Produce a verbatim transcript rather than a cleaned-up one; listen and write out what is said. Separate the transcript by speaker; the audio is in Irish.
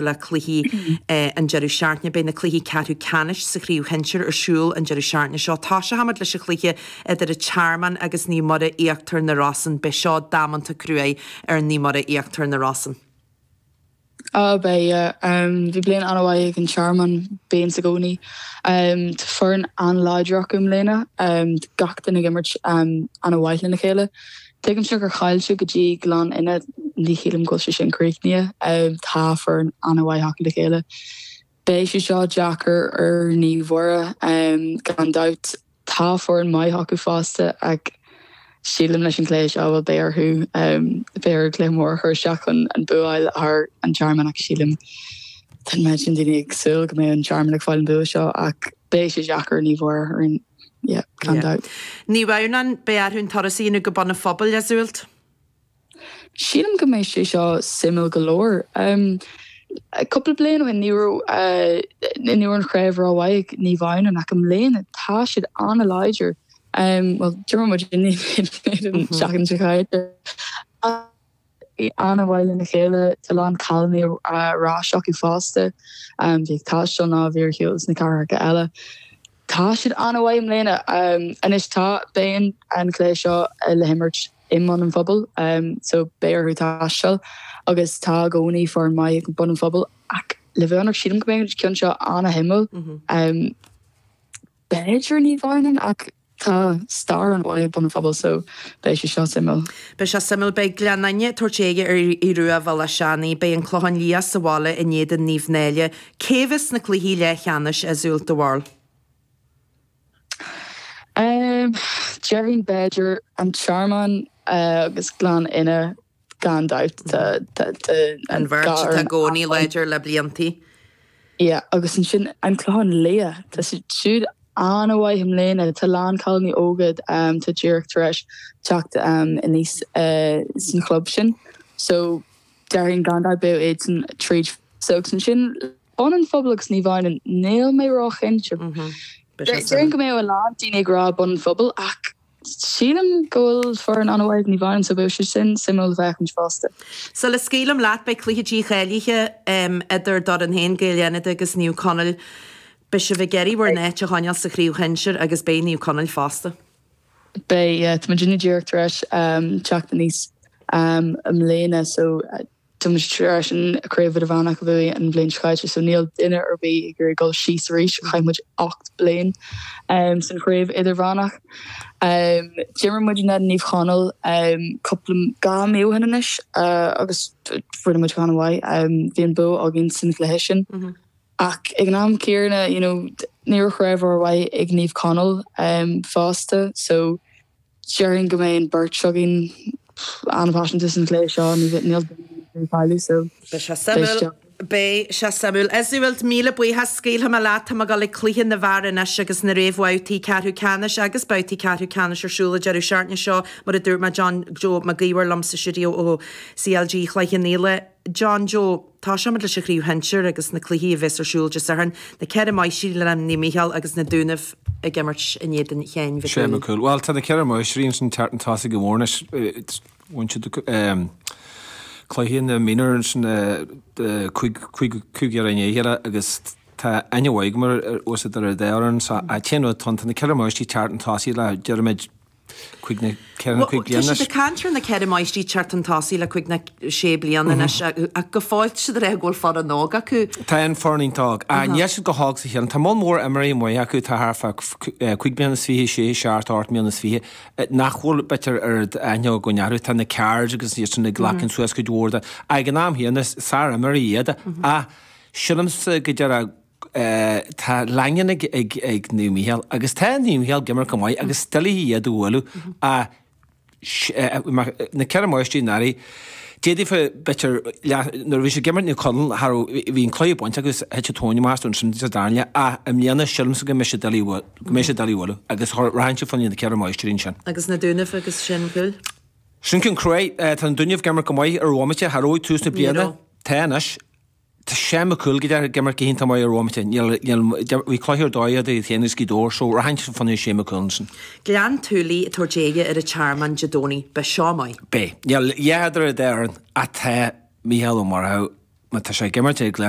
Speaker 1: le cluichí an deireadh seachtaine. Beidh na cluichí ceathrú ceannais sa chraobh shinsir ar siúl an deireadh seachtaine seo. Tosóimid leis an chluiche idir an Tearmann agus Naomh Muire Íochtar na Rosann. Beidh seo damanta cruaidh ar Naomh Muire Íochtar na Rosann.
Speaker 2: Á beidh, yeah. Bhí bliain an-mhaith ag an Tearmann, bíonn i gcónaí. Tá foireann an-láidir acu i mbliana, gach duine ag imirt an-mhaith lena chéile. Tuigimse gur chaill siad go dtí Gleann Fhinne, ní shílim go bhfuil sé sin críochnaithe. Tá foireann an-mhaith acu le chéile. Beidh sé seo deacair ar Naomh Mhuire gan dabht. Tá foireann maith acu fosta ach sílim leis an chluiche seo bhuel beidh orthu beidh orthu cluiche mór a chur isteach chun an bua a fháil thar an Tearmann ach sílim tá an méid sin daoine ag súil go mbeidh an Tearmann ag fáil an bua seo ach beidh sé deacair ar Naomh Mhuire ar an yeah, gan dabht.
Speaker 1: Naomh Adhamhnáin, beidh orthu an turas a dhéanamh go Bun an Phobail, a Iseult?
Speaker 2: Sílim go mbeidh sé seo suimiúil go leor. Um, cúpla bliain ó shin ní raibh ní raibh an chraobh rómhaith ag Naomh Adhamhnáin ach i mbliana tá siad an-láidir. Um, well d'imir muid an seachtain seo caite. An-mhaith lena chéile tá lán cailíní ar ais acu fosta. Um, bhí ag taisteal ná bhí ar shiúl sna cathracha eile. Tá siad an-mhaith i mbliana. Um, anois tá beidh an cluiche seo le himirt i mBun an Phobail, um, so beidh orthu taisteal agus tá i gcónaí foireann maith ag Bun an Phobail ach le bheith ionraic sílim go mbeidh an ceann seo an-shuimiúil. Um, b'fhéidir Naomh Adhamhnáin ach tá stair an-mhaith ag Bun an Phobail so beidh sé seo suimiúil.
Speaker 1: Beidh sé suimiúil beidh Gleann Fhinne ag tabhairt aghaidh ar Aodh Rua Bhéal Átha Seanaidh, beidh an Clochán Liath sa bhaile in éadan Naomh Náille. Cé bheas sna cluichí leathcheannais a Iseult do bharúil?
Speaker 2: Um, déarfainn b'fhéidir an Tearmann uh, agus Gleann Fhinne gan dabht
Speaker 1: an bheirt atá i gcónaí láidir le bliantaí.
Speaker 2: Yeah, agus ansin an Clochán Liath Tá siad siúd an-mhaith i mbliana tá lán cailíní óga um, tá díreach tar éis teacht um, aníos uh, san chlub sin. So déarfainn gan dabht beidh iad san tríd. So agus ansin Bun an Phobail agus Naomh Adhamhnáin níl mé róchinnte. Déarfainn go mbeidh a lán daoine ag rá Bun an Phobail ach sílim go bhfuil foireann an-mhaith ag Naomh Adhamhnáin so beidh sé sin suimiúil le féachaint fosta.
Speaker 1: Sula scaoilim leat beidh cluiche dícháilithe um, idir d'fhoireann féin Gaeil Fhánada agus Naomh Conaill. Beidh sibh ag iarraidh bhur n-áit a choinneáil sa chraobh shinsir agus beidh Naomh Conaill fosta.
Speaker 2: Beidh yeah, tá muidinne díreach tar éis um, teacht aníos um, i mbliana so uh, Tá muid tar éis an craobh idirmheánach a bhuaigh an bhliain seo caite so níl duine ar bith ag iarraidh dul síos arís chaith muid ocht bliain um, san chraobh idirmheánach. Um, D'imir muid in éadan Naomh Chonaill um, cúpla dhá mhí ó shin anois uh, agus rinne muid an-mhaith um, bhí an bua againn san chluiche sin. Mm -hmm. Ach ag an am céanna you know, ní raibh craobh rómhaith ag Naomh Conaill um, fosta so déarfainn go mbeidh an bheirt againn an-phaiseanta san chluiche seo níl cailleadh so
Speaker 1: Beidh sé suimiúil Beidh sé suimiúil. Iseult míle buíochas scaoilfidh mé leat tá mé ag dul ag cluiche na bhfear anois agus na réamhbhabhtaí ceathrú ceannais agus babhtaí ceathrú ceannais ar siúl an deireadh seachtaine seo mar a dúirt mé John Joe Mac Íomhair liom sa stiúideo ó CLG Chloich Cheann Fhaola. John Joe, Tosóimid leis an chraobh shinsir agus na cluichí a bheas ar siúl Dé Sathairn, na Ceithre Máistrí le Naomh Mícheál agus na Dúnaibh ag imirt in éadan Sheáin Mhic
Speaker 3: Sé Cúil. Well tá na ceithre máistrí ansin teacht chun tosaigh go mór anois bhain siad cluiche na mionúr sin cúig i ndiaidh a chéile agus tá aithne mhaith agam ar os ar an dá fhoireann so an t-aon rud tá na ceithre máistrí teacht chun tosaigh le déarfaimid cúig nó ceithre nó cúig bliana
Speaker 1: Tá siad ag caint ar na ceithre máistrí teacht chun tosaigh le cúig nó sé bliana anois ach go fóill siad ag rá go bhfuil foireann óg acu.
Speaker 3: Tá an foireann iontach óg. Níl siad chomh hóg is a shíleann. Tá moll mór imreoirí maith acu tá thart fá cúig bliana is fiche, sé, seacht, ocht mbliana is fiche nach bhfuil b'fhéidir oiread aithne againn orthu. Tá na Cards agus iad sin ag glacadh suas cuid mhór de. Ag an am chéanna is sár-imreoirí iad ach sílimse go deireadh tá leangan ag ag ag Naomh Mícheál agus tá Naomh Mícheál ag imirt go maith agus doiligh iad a bhualadh ach na ceithre máistrí anuraidh d'fhéadfadh b'fhéidir nuair a bhí siad ag imirt Naomh Conaill thar bhí an cluiche bainte acu thit an tóin amach astu ansin sa dara leath ach i mbliana sílimse go mbeidh siad doiligh go mbeidh siad doiligh a bhualadh agus rachaidh siad fá choinne na ceithre máistrí ansin.
Speaker 1: Agus na Dúnaibh agus Shane McCool?
Speaker 3: Sin ceann cruaidh. Tá na Dúnaibh ag imirt go maith ar bhomaite, cha raibh ag tús na bliana. Tá anois. Tá Shane McCool go deimhin ag imirt go hiontach maith ar bhomaite. Níl, níl, bhí cluiche ar dóigh iad féin agus Gaoth Dobhair so rachainn fá choinne Shane McCool ansin.
Speaker 1: Gleann tSúilí ag tabhairt aghaidh ar an Tearmann Dé Domhnaigh. Beidh seo maith.
Speaker 3: Beidh. Níl a dhath idir an dá fhoireann ach tá Mícheál Ó Murchú má tá sé ag imirt ag Gleann